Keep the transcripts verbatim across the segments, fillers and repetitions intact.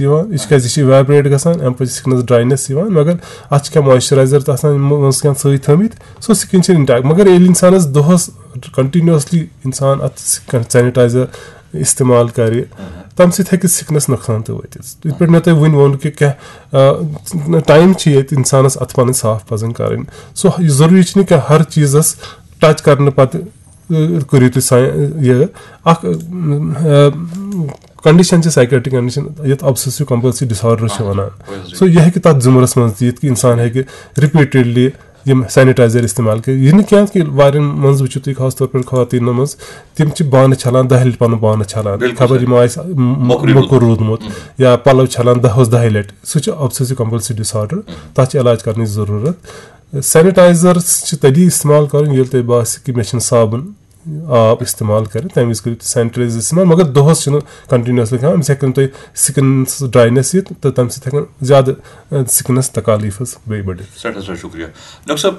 یِوان، یہِ چھِ کیٛازِ، یہِ چھِ evaporate گژھان، اَمہِ پَتہٕ چھِ سِکنَس ڈراینیس یِوان، مگر اَتھ چھِ کینٛہہ moisturizer تہِ آسان یِمو منٛز کینٛہہ سۭتۍ تھٲومٕتۍ، سُہ سِکِن چھِ intact۔ مگر ییٚلہِ اِنسانَس دۄہَس continuously اِنسان اَتھ سینیٹایزر استعمال کَرِ، تَمہِ سۭتۍ ہیٚکہِ سِکنَس نۄقصان تہِ وٲتِتھ۔ یِتھ پٲٹھۍ مےٚ تۄہہِ وٕنۍ ووٚن کہِ کینٛہہ ٹایم چھِ ییٚتہِ اِنسانَس اَتھٕ پَنٕنۍ صاف پَزَن کَرٕنۍ۔ سُہ، یہِ ضروٗری چھِنہٕ کینٛہہ ہر چیٖزَس ٹچ کَرنہٕ پَتہٕ، ٲں، کٔرِو تُہۍ سا-، یہِ اَکھ، ٲں، condition چھِ psychiatric condition، یَتھ obsessive compulsive disorder چھِ وَنان۔ سو یہِ ہیٚکہِ تَتھ زُمرَس منٛز تہِ یِتھ کہِ اِنسان ہیٚکہِ repeatedly یِم سینیٹایزر استعمال کٔرِتھ۔ یہِ نہٕ کینٛہہ کہِ واریاہَن منٛز وٕچھِو تُہۍ، خاص طور پٲٹھۍ خواتیٖنَن منٛز، تِم چھِ بانہٕ چھَلان دَہہِ لَٹہِ پَنُن بانہٕ چھَلان، خبر یِمو آسہِ م-، موٚکُر روٗدمُت۔ یا پَلَو چھَلان دَہَس دَہہِ لَٹہِ۔ سُہ چھُ obsessive compulsive disorder، تَتھ چھِ علاج کَرنٕچ ضروٗرت۔ سینیٹایزر چھِ تیٚلی استعمال کَرُن ییٚلہِ تۄہہِ باسہِ کہِ مےٚ چھِنہٕ صابن آب استعمال کَرٕنۍ، تَمہِ وِزِ کٔرِو تُہۍ سینیٹایزر استعمال، مگر دۄہَس چھِنہٕ continuously کھیوٚن، أمِس ہیٚکہِ نہٕ تۄہہِ سِکنَس ڈراینیس یِتھ تہٕ تَمہِ سۭتۍ ہیٚکَن زیادٕ، ٲں، سِکنَس تکالیٖف حظ بیٚیہِ بٔڑِتھ۔ سٮ۪ٹھاہ سٮ۪ٹھاہ شُکریہ۔ ڈاکٹر صٲب،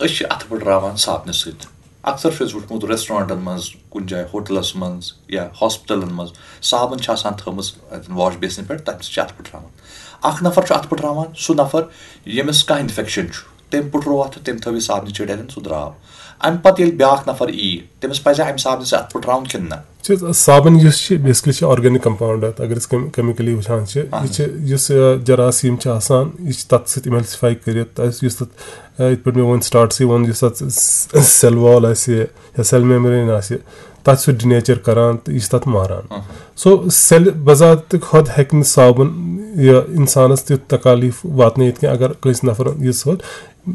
أسۍ چھِ اَتھٕ پٮ۪ٹھ راوان صابنہِ سۭتۍ۔ اکثر چھُ اَسہِ وٕچھمُت ریسٹورنٹن منٛز، کُنہِ جایہِ ہوٹلس منٛز یا ہاسپٹلن منٛز صابن چھِ آسان تھٲومٕژ اَتٮ۪ن واش بیسنہِ پٮ۪ٹھ، تَمہِ سۭتۍ چھِ اَتھٕ پٔٹھراوان۔ اکھ نفر چھُ اَتھٕ پٔٹھراوان، سُہ نفر ییٚمِس کانٛہہ انفیکشن چھُ، تٔمۍ پٔٹھروو اَتھٕ، تٔمۍ تھٲو یہِ صابنہِ چِٹھ اَتٮ۪ن، سُہ درٛاو۔ اَمہِ پَتہٕ ییٚلہِ بیٛاکھ نفر یی، تٔمِس پَزِ اَمہِ صابنہِ سۭتۍ اَتھٕ پٔٹھراوُن کِنہٕ نہ؟ چھِ صابن یُس چھِ، basically چھِ organic compound اَتھ، اگر أسۍ کیم-، chemically وٕچھان چھِ، یہِ چھِ یُس، آ، جراثیم چھِ آسان، یہِ چھِ تَتھ سۭتۍ emulsify کٔرِتھ، تَتھ یُس تَتھ، آ، یِتھ پٲٹھۍ مےٚ ووٚن startسٕے ووٚن، یُس تَتھ cell wall آسہِ یا cell membrane آسہِ، تَتھ چھُ سُہ denature کران تہٕ یہِ چھُ تَتھ ماران۔ سو cell بذات خۄد ہیٚکہِ نہٕ صابن یہِ اِنسانَس تیُتھ تکالیٖف واتنٲیِتھ کینٛہہ، اگر کٲنٛسہِ نفرَن یہِ ژھوٚٹ۔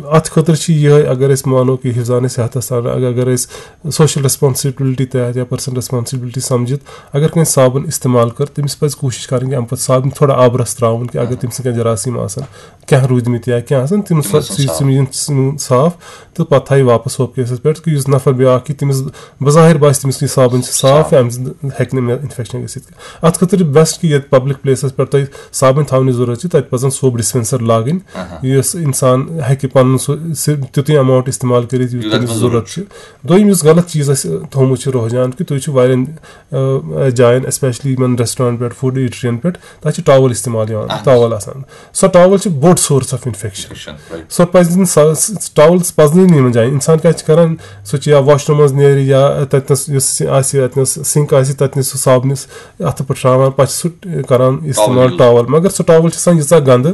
اَتھ خٲطرٕ چھِ یِہوٚے، اگر أسۍ مانو کہِ حفظان صحتَس تام، اگر، اگر أسۍ social responsibility تحت یا personal responsibility سمجھِتھ، اگر کٲنٛسہِ صابن استعمال کٔر، تٔمِس پَزِ کوٗشِش کَرٕنۍ کہِ اَمہِ پَتہٕ صابن تھوڑا آبہٕ رَس ترٛاوُن، کہِ اگر تٔمۍ سٕنٛدۍ کینٛہہ جراثیم آسَن، کینٛہہ روٗدۍمٕتۍ یا کینٛہہ آسَن، تِم تِم سا-، گژھن سُہ یہِ صاف۔ تِم یِن صاف تہٕ پَتہٕ تھایہِ واپَس ہُتھ کیسَس پٮ۪ٹھ، کہِ یُس نفر بیٛاکھ یی، تٔمِس بظاہر باسہِ تٔمِس یہِ صابن چھِ صاف، صاف۔ اَمہِ سۭتۍ ہیٚکہِ نہٕ مےٚ infection گٔژھِتھ۔ اَتھ خٲطرٕ چھِ best کہِ ییٚتہِ public placeس پٮ۪ٹھ تۄہہِ صابن تھاونٕچ ضروٗرت چھِ، تَتہِ پَزَن soap dispenser لاگٕنۍ، یُس اِنسان ہیٚکہِ پَنُن سُہ، سُہ تیُتُے amount استعمال کٔرِتھ، یُتھ یوٗتاہ تٔمِس تٔمِس ضروٗرت ضروٗرت چھِ۔ دوٚیِم یُس غلط چیٖز اَسہِ تھوٚومُت چھُ رُحجان، کہِ تُہۍ چھِو واریاہَن، آ، جایَن، especially یِمَن restaurant پٮ۪ٹھ، food eateryیَن پٮ۪ٹھ، تَتہِ چھِ towel استعمال یِوان، اَہَن حظ۔ Towel آسان۔ سۄ towel چھِ بوٚڑ source of infection۔ Infection، right۔ سۄ پَزِ نہٕ، سۄ، سۄ towel پَزنٕے نہٕ یِمَن جایَن۔ اِنسان کیٛاہ چھِ کَران؟ سُہ چھُ یا washroomس منٛز نیرِ یا تَتہِ نَس یُس آسہِ، اَتہِ نَس sink آسہِ، تَتہِ نَس سُہ صابنِس اَتھٕ پٮ۪ٹھ ترٛاوان، پَتہٕ چھُ سُہ کَران استعمال towel۔ Towel۔ مگر سۄ towel چھِ آسان ییٖژاہ گنٛدٕ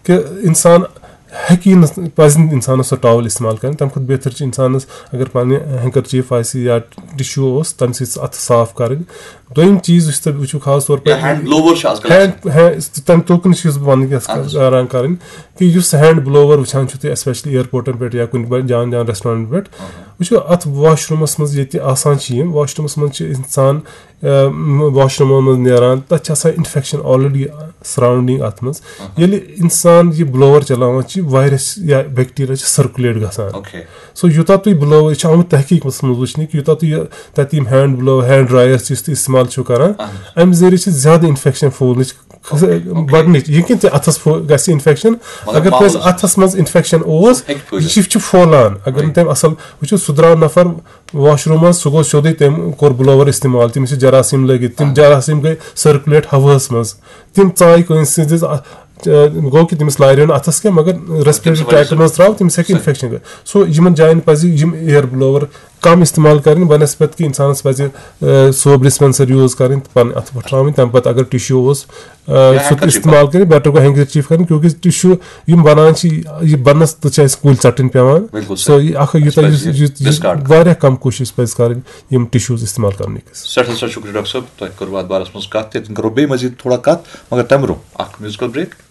کہِ اِنسان ہیٚکہِ نہٕ، پَزِ نہٕ اِنسانَس سۄ towel استعمال کَرٕنۍ۔ تَمہِ کھۄتہٕ بہتر چھِ اِنسانَس اگر پَنٕنہِ handkerchief آسہِ یا tissue اوس، تَمہِ سۭتۍ سُہ اَتھٕ صاف کَرٕنۍ۔ دوٚیِم چیٖز یُس تۄہہِ وٕچھِو خاص طور یا پٲٹھۍ hand blower چھِ آز کَل hand، hand، تَمہِ توکُن چھُس بہٕ وَنٕنۍ یَژھ اَہَن حظ۔ کران کَرٕنۍ کہِ یُس hand blower وٕچھان چھُو تُہۍ، especially airportن پٮ۪ٹھ یا کُنہِ بَ-، جان جان restaurantن پٮ۪ٹھ، وٕچھِو اَتھ washroomس منٛز ییٚتہِ آسان چھِ یِم، washroomس منٛز چھِ اِنسان، آ، washroomن منٛز نیران، تَتہِ چھِ آسان infection already surrounding اَتھ منٛز۔ ییٚلہِ اِنسان یہِ blower چلاوان چھِ، virus یا bacteria چھِ circulate گژھان۔ Okay۔ سو یوٗتاہ تُہۍ blower، یہِ چھُ آمُت تحقیٖقس منٛز وٕچھنہٕ کہِ یوٗتاہ تُہۍ یہِ، تَتہِ یِم hand blower، hand dryers یُس تُہۍ استعمال چھِو کران، اَہَن حظ۔ اَمہِ ذٔریعہٕ چھِ زیادٕ infection پھوٗلنٕچ Okay، okay۔ بڑنٕچ، یہِ کہِ ژےٚ اَتھَس پھو-، گژھِ infection۔ مگر اگر کٲنٛسہِ معموٗلی اَتھَس منٛز infection اوس، ہیٚکہِ پھٔہلِتھ۔ یہِ چھُ پھۄلان۔ اگر نہٕ right۔ تٔمۍ اَصٕل وٕچھِو، سُہ درٛاو نفر washroomس، سُہ گوٚو سیوٚدُے، تٔمۍ کوٚر blower استعمال، تٔمِس چھِ جراثیم لٲگِتھ، تِم اَہَن۔ جراثیم گٔے circulate ہوہَس منٛز، تِم ژایہِ کٲنٛسہِ سٕنٛدِس اَ-، اَ، گوٚو کہِ تٔمِس لارِ نہٕ اَتھَس کینٛہہ، مگر respiratory tract منٛز ترٛاو، تٔمِس ہیٚکہِ صحیح۔ Infection گٔژھِتھ۔ سو یِمَن جایَن پَزِ یِم air blower کم استعمال کَرٕنۍ، بنسبت کہِ اِنسانَس پَزِ، آ، soap dispenser use کَرٕنۍ تہٕ پَنٕنۍ اَتھٕ پَٹھراوٕنۍ۔ تَمہِ پَتہٕ اگر tissue اوس، آ، یا سُہ تہِ handkerchief استعمال کَرٕنۍ، better گوٚو handkerchief کَرٕنۍ، کیونکہ tissue یِم بَنان چھِ، یہِ بَنَس تہٕ چھِ اَسہِ کُلۍ ژَٹٕنۍ پٮ۪وان۔ بِلکُل سو صحیح۔ یہِ اَکھ، اَسہِ یوٗتاہ پَزِ یُس، یہِ یُس، یہِ discard کَرُن۔ واریاہ کَم کوٗشِش پَزِ کَرٕنۍ یِم tissues استعمال کَرنٕکِس۔ سٮ۪ٹھاہ سٮ۪ٹھاہ شُکریہ ڈاکٹر صٲب، تۄہہِ کٔروٕ اَتھ بارَس منٛز کَتھ تہِ، تِم کَرو بیٚیہِ مزید تھوڑا کَتھ، مگر تَمہِ برٛونٛہہ اَکھ musical break۔